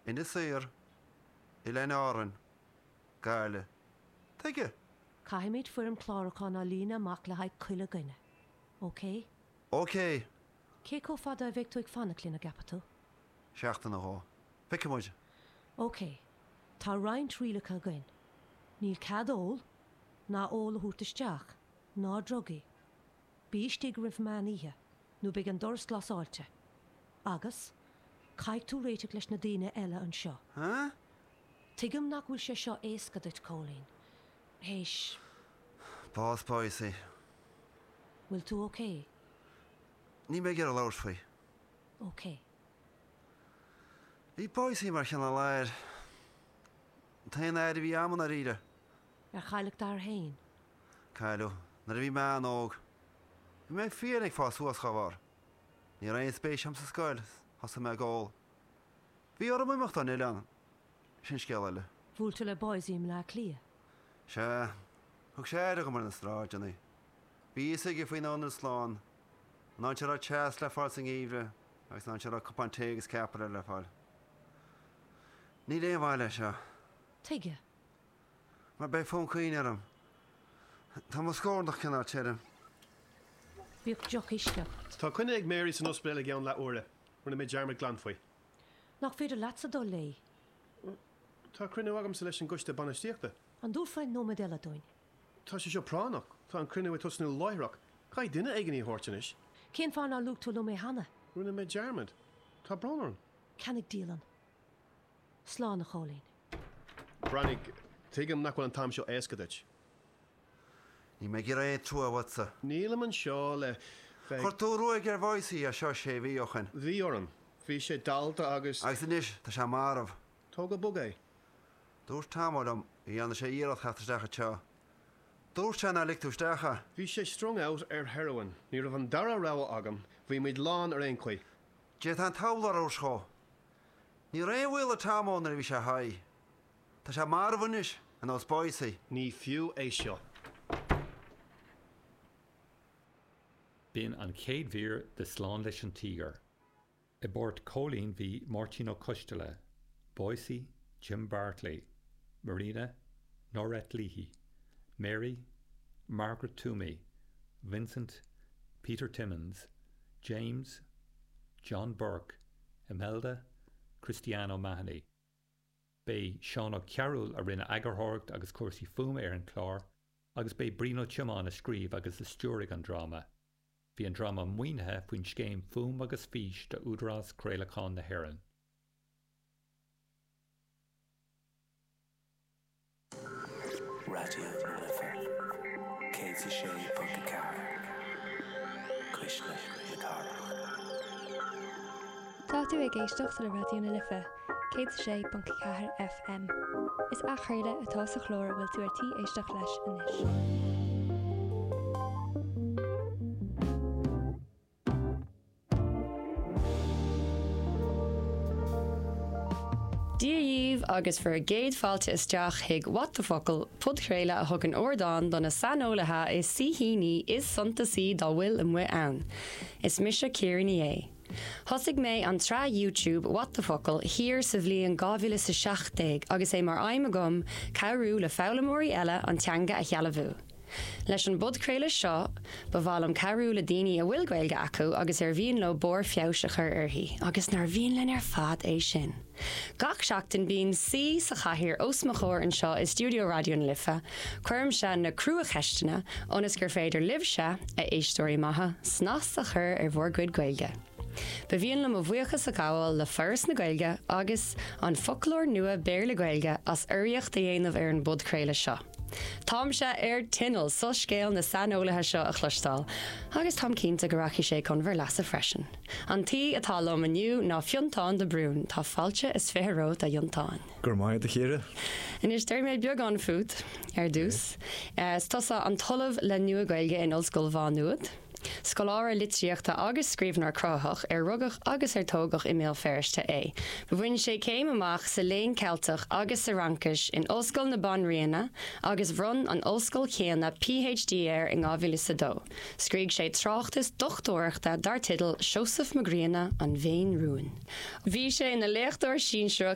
Inis Oírr, Oileáin Árann, Gaillimh. Tuige? Caithfimid foirm clárúcháin a líonadh amach le haghaidh chuile dhuine. Ok? Ok! Cé chomh fada a bheidh tú ag fanacht linn, an gceapann tú? Seachtain nó dhó. Feicfidh muid. Ok. Tá roinnt rialacha againn. Níl cead ól, ná ól a thabhairt isteach, ná drugaí. Bí istigh roimh meán oíche, nó beidh an doras glasáilte. Agus, caithfidh tú réiteach leis na daoine eile anseo. Huh? Tuigim nach bhfuil sé seo éasca duit, Cóilín. Théis. Bás Boycie. Bhfuil tú ok? Níl mé ag iarraidh labhairt faoi. Ok. Bhí Boycie mar chineál aoir. An t-aon aoir a bhí a'm i ndáiríre. Ar cailleadh d'athair féin? Cailleadh nuair a bhí mé an-óg. Bhí mé fiáin ag fás suas dá bharr. Ní raibh aon spéis a'm sa scoil, thosaigh mé ag ól. Bhí orm imeacht ón oileán. Sin scéal eile. Bhuail tú le Boycie i mBleá Cliath? Sea. Thug sé aire dhom ar na sráideanna. Bhí a fhios aige faoin Ionad Slán, an áit a raibh teas le fáil sa ngeimhreadh agus an áit a raibh cupán tae agus ceapaire le fáil. Níl aon mhaith leis seo. Tuige? Mar beidh fonn caoin orm. Tá mo scornach cineál tirim. Bíodh deoch uisce agat. Tá coinne ag Mary san ospidéal i gceann leath uaire. Rinne mé dearmad glan faoi. Nach féidir leatsa dul léi? Tá cruinniú agamsa leis an gcoiste bainistíochta. An dtabharfá nóiméad eile dúinn? Tá sé seo práinneach. Tá an cruinniú ag tosnú láithreach. Caithfidh duine éigin í a thabhairt anois. Cén fáth nár luaigh tú liom é cheana? Rinne mé dearmad. Tá brón orm. Ceannaigh dialann. Slán, a Chóilín. Breathnaigh, tuigim nach bhfuil an t-am seo éasca duit. Níl mé ag iarraidh aon trua uatsa. Nílim anseo le bheith. Chuir tú ruaig ar Bhoycie as seo sé mhí ó shin. Bhí orm. Bhí sé dallta agus. Agus anois tá sé marbh. Tóg go bog é. Dúirt Tammo liom go dhearna sé iarracht theacht isteach anseo. Dúirt sé nár lig tú isteach é. Bhí sé strung out ar heroin. Ní raibh an dara rogha agam. Bhí muid lán ar aon chaoi. D'fhéadfá an t-abhla a thabhairt dhó. Ní raibh aon bhaol ar Tammo nuair a bhí sé high. Tá sé marbh anois, ar nós Boycie. Ní fiú é seo. B'in an chéad mhír de Slán leis an Tíogar. I bpáirt Chóilín bhí Máirtín Ó Coisteala, Boycie, Jim Bartley, Marina, Norette Leahy, Mary, Margaret Toomey, Vincent, Peter Timmins, James, John Burke, Imelda, Christiane O'Mahony. B'é Seán Ó Cearúil a rinne eagarthóireacht agus cúrsaí fuaime ar an chlár agus b'é Brian Ó Tiomáin a scríobh agus a stiúraigh an dráma. Bhí an dráma maoinithe faoin scéim Fuaim agus Fís d'Údarás Craolacháin na hÉireann. Raidió na Life 106.4, Cuisle na Cathrach. Tá tú ag éisteacht le Raidió na Life 106.4 FM. Is athchraoladh atá sa chlár a bhfuil tú ar tí éisteacht leis anois. Dia dhaoibh agus bhur gcéad fáilte isteach chuig What the Focal, podchraoladh a thugann ardán do na saineolaithe is saoithíní is suntasaí dá bhfuil amuigh ann. Is mise Ciara Ní É. Thosaigh mé an tsraith YouTube What the Focal thiar sa bhliain 2017 agus é mar aidhm agam cabhrú le foghlaimeoirí eile an teanga a shealbhú. Leis an bpodchraoladh seo, ba mhaith liom cabhrú le daoine a bhfuil Gaeilge acu agus ar mhian leo barr feabhais a chur uirthi, agus nár mhian linn ar fad é sin? Gach seachtain bíonn saoi sa chathaoir os mo chomhair anseo i stiúideo Raidió na Life, cuirimse na cruacheisteanna ionas gur féidir libhse, a éisteoirí maithe, snas a chur ar bhur gcuid Gaeilge. Ba mhian liom mo bhuíochas a ghabháil le Foras na Gaeilge agus An Foclóir Nua Béarla-Gaeilge as urraíocht a dhéanamh ar an bpodchraoladh seo. Táimse ar tinneall soiscéal na saineolaithe seo a chloisteáil, agus táim cinnte go rachaidh sé chun bhur leasa freisin. An t-aoi atá liom inniu ná Fionntán de Brún. Tá fáilte is 20 romhat, a Fhionntán. Go raibh maith agat, a Chiara. Anois, déarfaidh mé beagán fút ar dtús. Is tusa an tOllamh le Nua-Ghaeilge in Ollscoil Mhá Nuad. Scoláire litríochta agus scríbhneoir cruthaitheach ar rugadh agus ar tógadh i mBéal Feirste é. Bhain sé céim amach sa Léann Ceilteach agus sa Fhraincis in Ollscoil na Banríona agus bhronn an ollscoil chéanna PhD air in 2002. Scrígh sé tráchtas dochtúireachta dar teideal Seosamh Mac Grianna, An Bhean Rúin. Bhí sé ina léachtóir sinsearach.